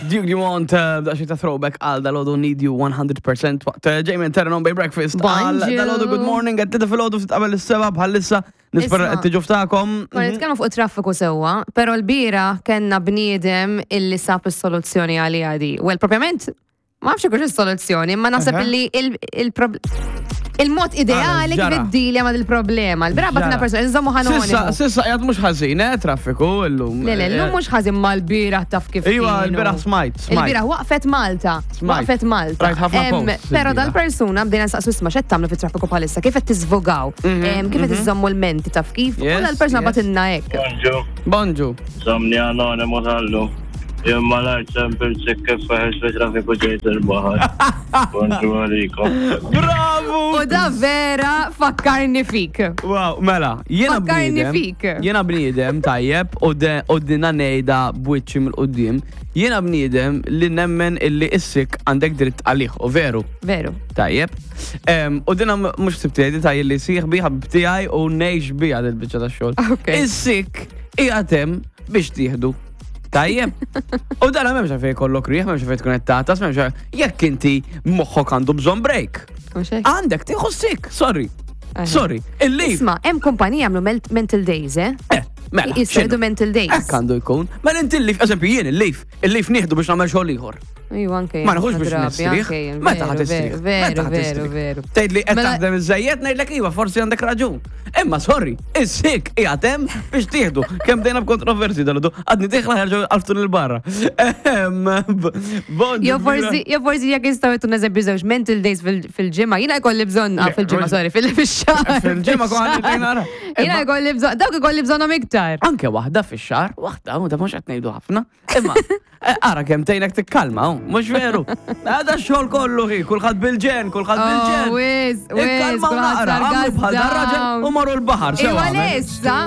Duke Dumont, daqsxejn ta' throwback għal dal-għodu Need You 100% waqt Jamie and Terran on Bay Breakfast. Għal Bonġu. dal-għodu good morning, għed tita fil-għodu ftit qabel is-seba bħalissa nispera Isma'. qed tiġu ftakom. Konna nitkellmu fuq traffiku sewwa, però l-bira kellna bniedem illi sab is-soluzzjoni għaliha di. Well, propjament, ma nafx ikunx is-soluzzjoni, imma naħseb Aha. illi il-mod ideali kif ġara. iddilja ma' il-problema. L-bira batna Ġara. persona, nżommu Sissa, ħanonimu. sissa qiegħed mhux ħażin, eh, traffiku illum. Le, le, l-lum mhux ħażin mal-bira taf kif. Iva, kienu. l-bieraħ smajt, smajt. Il-bira waqfet Malta. Smajt. Waqfet Malta. Rajt ħafna Em, posts Però il-bieraħ. dal-persuna bdejna nsaqsu isma' x'qed tagħmlu fit-traffiku bħalissa, kif qed tiżvogaw, kif qed iżommu l-menti taf kif. U Mhm, Yes, dal-persuna yes. batinna hekk. Bonġu, Bonġu. żomni anonimu tal-lum. Jien malajr ċempil kif feħex fi traffiku ġejt il-baħar. Bonġu għalikom. Bravo! U da vera fakkarni fik. Wow, mela, jiena Fakkarni bniedem. fik. Jiena bniedem tajjeb u de- u dina ngħidha b'wiċċi mill-qudiem. Jiena bniedem li nemmen illi issik għandek dritt għalih u veru. Veru. Tajjeb. U dina mhux sibti tajjeb li sieħbi ħabib tiegħi u ngħix biha dil-biċċa tax-xogħol. Ok. Is-sik qiegħed hemm biex tieħdu. Tajjeb. U dana m'hemmx għalfejn jkollok riħ, m'hemmx għalfejn tkun qed tagħtas, m'hemmx għalfejn- jekk inti moħħok għandu bżonn break. Mhux hekk? Għandek tieħu sik, sorry. Aha. Sorry, il-leave. Isma, hemm kumpanija jagħmlu mental days, eh? Eh, mela. Jistgħu x'inhu? mental days. Hekk għandu jkun. Mela inti il-leave, eżempju jien il-leave, il-leave nieħdu biex nagħmel xogħol ieħor. Iva, anke Ma jien, nħux biex drabi, nistrieħ. anke jien, Meta veru, ħad tistrieħ? Veru, Meta ħad veru, tistrieħ? veru. Tgħid li qed Mela- taħdem iżejjed ngħidlek iva, forsi għandek raġun. Imma sorry, is-sik qiegħed hemm biex tieħdu. Kemm dejna b'kontroversi dal Għadni dieħla ħerġu għalftun il-barra. Ehm, Bonġu. Jo forsi, jo forsi jekk jistgħu jtun eżempju żewġ mental days fil-ġimgħa, jiena jkolli bżonn ah, Le, fil-ġimgħa, mhux- sorry, fil-xahar. Fil-ġimgħa kont għandi nara. Jiena Imma- jkolli bżonn, dawk ikolli bżonnhom iktar. Anke waħda fix-xahar, waħda, u da mhux qed ngħidu ħafna. Imma eh, ara kemm tgħinek tikkalma, hu, mhux veru. Għada x-xogħol kollu hi, kulħadd bil-ġen, kulħadd Oh, bil-ġen. wiz, wiz, Ikkalma u kulħadd naqra, sar għamlu bħal gas dar raġel down. u marru l-baħar. sewa Iwa għamel. lessa.